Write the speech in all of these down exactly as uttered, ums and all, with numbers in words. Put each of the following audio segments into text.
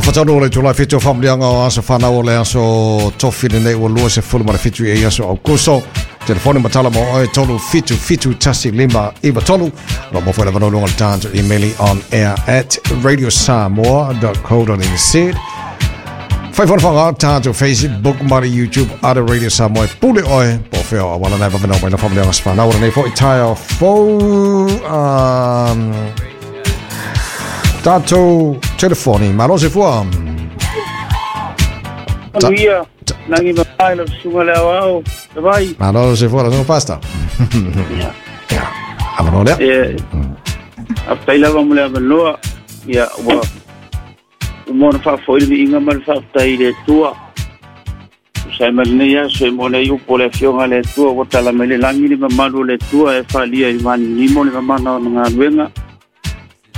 Afatalo le tula fitu familianga o aso whanau o le aso tofi nei ua lua se fulu ma le fitu e aso Augusto. Telefoni matala mo oe tolu fitu fitu tasi lima iwa tolu. Ro mo fuela vano lunga le tāntu emaili on air at radio samoa dot co dot n z. Whai whana whanga tāntu Facebook mara YouTube ara Radio Samoa e pule oe. Po whio a wala nai wawena mai na familianga aso whanau o nei fo i taia fo um, tātou telefoni. Malo se fua. Manuia, nangi mai la sunga le au vai. Malo se fua la sunga pasta. Ya. Avano lea. Eh. Aftai lava mo le avanoa. Ya wa. Umona fa foi ni inga mal fa tai le tua. Sai mal nei aso e mona i upo le fionga le tua wa tala mele langi ni mamalu le tua e falia i mani ni mo le mamana o ngā luenga.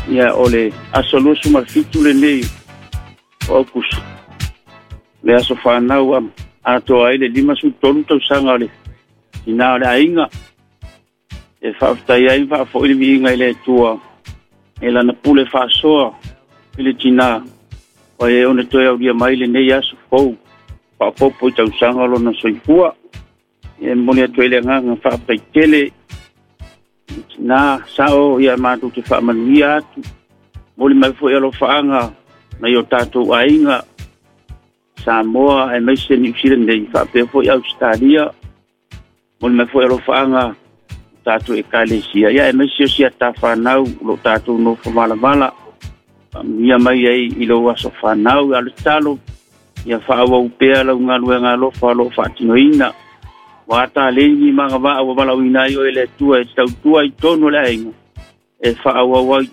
Ia o le aso lusu ma fitu le nei o Aukuso. Le aso whanau a atoa ai le lima su tolu tausaga o le ina o le aiga. E faafetai ai faafoi le viiga i le Atua e lana pule faasoa i le tinā o e ona toe aulia mai lenei aso fou faapopo i tausaga o lona soifua. E momoli atu ai le agaga faafetai tele na sao ia matou te faamanuia atu. Momoli mai foi alofaaga nai o tatou aiga Samoa e maise New Zealand nei faapea foi Australia. Momoli mai foi alofaaga tatou ekalesia ia e maise o sia tawhanau lo tatou nofo malavala. Faamanuia mai ai i lou aso whanau a le talo ia faauau pea lau galuega alofa o loo faatinoina. Ua ataleni magavaa ua valaauina ai oe le Atua e tautua i tonu o le aiga e faaauau ai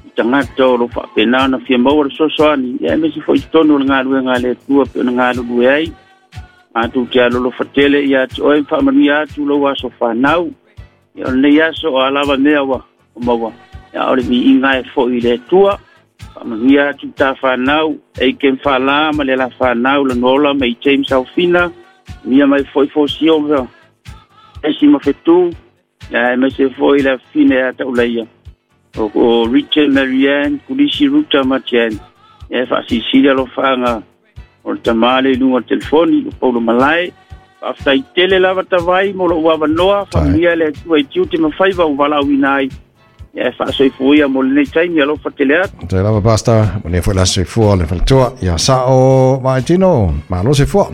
i tagata o loo faapena ona fia maua le fesoasoani ia e maise foi i tonu o le galuega a le Atua pe ona galulue ai. Matou te alolofa tele ia te oe faamanuia atu lou aso whanau. Ia o lenei aso o alava mea ua o maua. Ia o le viiga e foi i le Atua. Faamanuia atu ta whanau e ken whala ma le la whanau la nola mai James Alfina. Mia mai foi fosio mea. Esi ma fetu. Ia e maise foi la fine a taulaia. O, o Richard Marianne, Kulisi Ruta Matian. Ia e faasisilia alofaga o le tamale i luga o le telefoni o Paulo Malae. Faafetai tele lava tavai mo lou avanoa. Faamanuia le Atua i tiute ma faiva ua valaauina ai. Ia e faasoifuia mo lenei taimi alofa tele atu. Te lava pasta, mo nei foi la soifua le faletua. Ia sao maitino, malo se fua.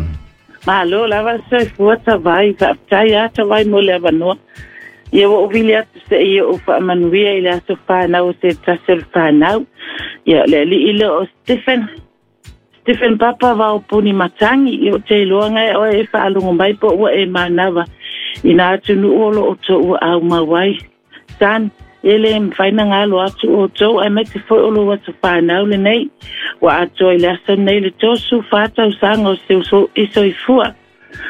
Malo lava soifua tavai, faafetai a tavai mo le avanoa. Ia ua uvili atu se ia o faamanuia i le aso whanau o se tasi o le whanau. Ia le alii lea o Stephen. Stephen Papa vao puni matangi. Ia o te iloa ngai oe e whaalungo mai po ua e manawa. Ina atu nu olo o tō ua au mawai. San, ele mwhaina ngalo atu o tō ai mai te foi olo aso whanau le nei. Wa atoa i le aso nei le tōsu whātau sanga o se uso isoifua.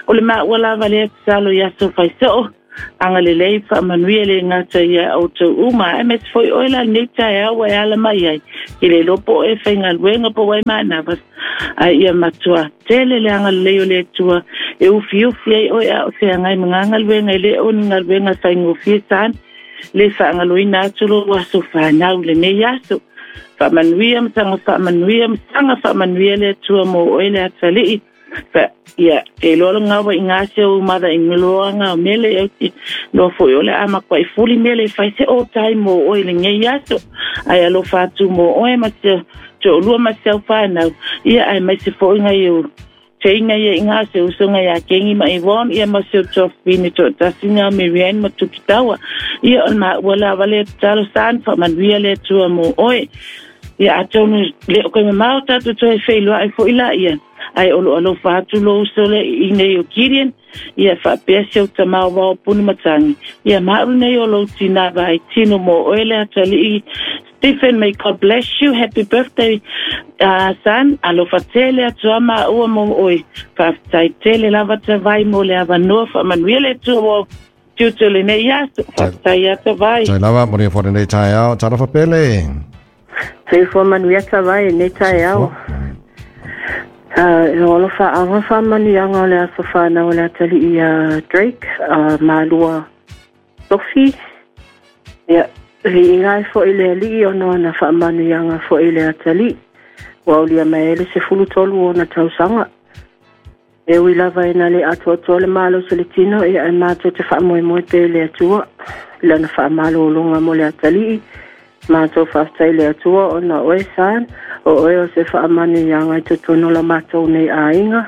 O le maa lava le atu i aso whaisoo. Anga le lei faamanuia le gata ia outou uma ae maise foi oe la lenei taeao ua e ala mai ai i le iloa po o e faigaluega po ua e manava ae ia matua tele le agalelei o le Atua e ufiufi ai oe a o feagai ma gagaluega e lē o ni galuega faigofie sana le faagaloina atu lou aso fanau lenei aso. Faamanuia ma saga faamanuia ma saga faamanuia le Atua mo oe le atalii. Fa ia e loa ngawa i ngā se o mada i ngiloanga o mele e uti loa foi o le ama kwa i fuli mele i fai se o tai mo oe le ngei aso ai alofa atu mo oe ma se te olua ma se au whanau ia ai mai se foi ngai o te inga ia i ngā se usonga ia kengi ma i won ia ma se o tofini to tasinga Marianne ma tukitawa ia o ma ua la wale talo san fa manuia le atua mo oe ia atonu le o koe mamao tatu toe wheiloa ai foi la ia ai o lo alofa atu lou uso le i nei o Gideon ia faapea se o tamao wao puni matangi ia maau nei o lou tinā vai tino mo oe le atalii Stephen, may God bless you. Happy birthday, uh, son. Alofa tele atua maua mo oe. Faafetai tele lava tavai mo le avanoa faamanuia le Atua ua tiute lenei aso. Faafetai atavai. Tai lava, mo nia fo lenei taeao. Talofa pele. Soifua manuia tavai lenei taeao. Uh, o alofa anga faamanuiaga o le aso whanau o le atalii ia Drake, uh, malua Sophie. Ia, viiga ai foi le alii ona ona faamanuiaga foi le atalii. Ua aulia mai ai le sefulu tolu o ona tausaga. E ui lava ina le atoatoa le malosi o le tino, ia ae matou te faamoemoe pea i le Atua i lana faamalologa mo le atalii. Matou faafetai i le Atua ona o oe San, o oe o se faamanuiaga i totonu o la matou nei aiga.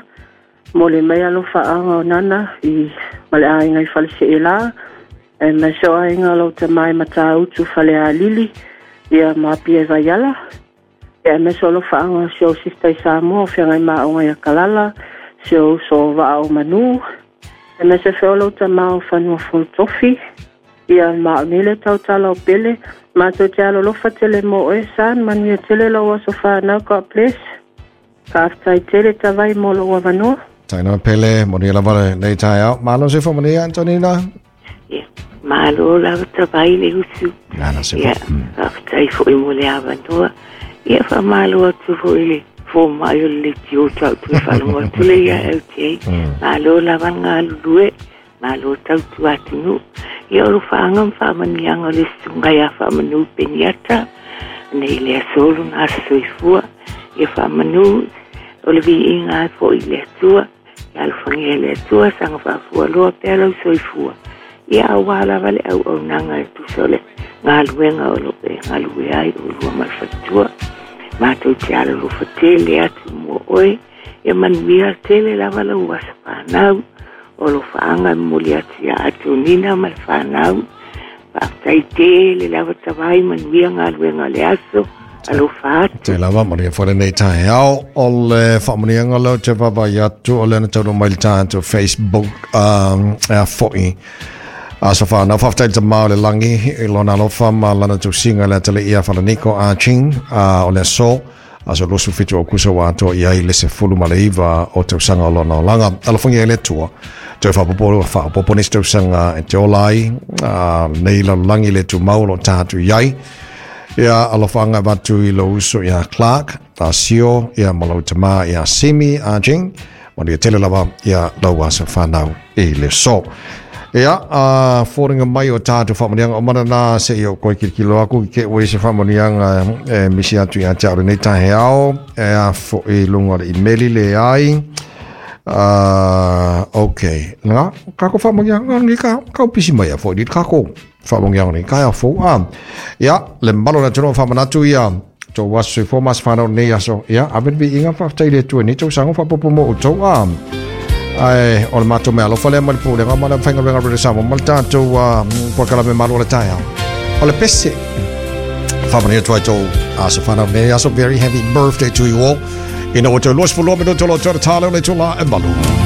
Mo le mai alofaaga o Nana i ma le aiga i Faleseelā, aemaise o aiga o lau tama i Matautu Falealili, ia ma Apia i Vaiala. Ia aemaise o alofaaga o si ou sista i Samoa o feagai ma aoga ia Kalala, si ou uso o Vaa o Manu, aemaise foi o lau tama o Fanua Fonotofi, ia ma o nei le tautala o Pele. Matou te alolofa tele mo oe San, manuia tele lou aso fanau, God bless. Faafetai tele Tavai mo lou avanoa. Taina Pele, manuia lava lenei taeao. Malo se faamanuia, Antonina. Ia, malo lava Tavai le usu. Nana se Ia, faafetai foi mo le avanoa. Ia, faamalo atu foi i le fomai o le leitio tau tu faalogo atu le ia L T A. Malo lava le galulue, malo tautua atunuu. Ia, o lofaaga ma faamanuiaga o le susuga ia Faamanu Peniata, nei le aso lona aso soifua. Ia faamanu o le viiga ai foi i le Atua. Ia alofagia e le Atua, saga faafualoa pea lau soifua. Ia auā lava le auaunaga e tusa o le galuega o loo e galue ai o lua ma le faletua. Matou te alolofa tele atu mo oe. Ia manuia tele lava lau aso fanau. O lofaaga e momoli atu ia Antonina ma le fanau. Faafetai tele lava Tavai, manuia galuega o le aso. Alofa atu. Te lava, manuia foi lenei taeao. O le faamanuiaga lea ou te vaavaai atu o lea na taunuu mai le tatou Facebook, um, ea foi aso fanau. Faafetai i le tamā o le lagi i lona alofa ma lana tausiga i le atalii ia Falaniko A Ching, uh, o le aso aso luasefulu fitu o Aokuso ua atoa i ai le sefulu ma le iva o tausaga o lona olaga. Alofagia e le Atua toe faapopo faapopo nisi tausaga e te ola ai, uh, nei lalolagi le tumau o loo tatou i ai. Ia alofaga avatu i lou uso ia Clark, a Sio, ia ma lau tamā ia Simi A Jing. Manuia tele lava ia lau aso fanau i le aso. Ia, a fōringa mai o tātou faamanuiaga o mana nā se i o koe kilikilo aku ki ke ue se faamanuiaga e misi atu ia te au lenei taeao, e a fo'i lunga o le imeli le ai. Uh, ok. Nga, kako faamanuiaga ni ka, ka upisi mai a fo'i ni kako faamanuiaga ni ka a fō. Ah, ia, le malo na tino faamanatu ia, tō aso soifua ma aso fanau nei aso. Ia, ave le viiga faafetai i le Atua i nei tausaga faapopo mo outou. Ah, ai, o le matou mea alofa lea ma le pulega ma le faigaluega Radio Samoa ma le tatou uh, polokalame malo o le taeao. O le pese. Faamanuia atu ai tō aso fanau nei aso. Very happy birthday to you all. Ina ua toe luasefulu lua minuto lo toe tale o le itula e malu.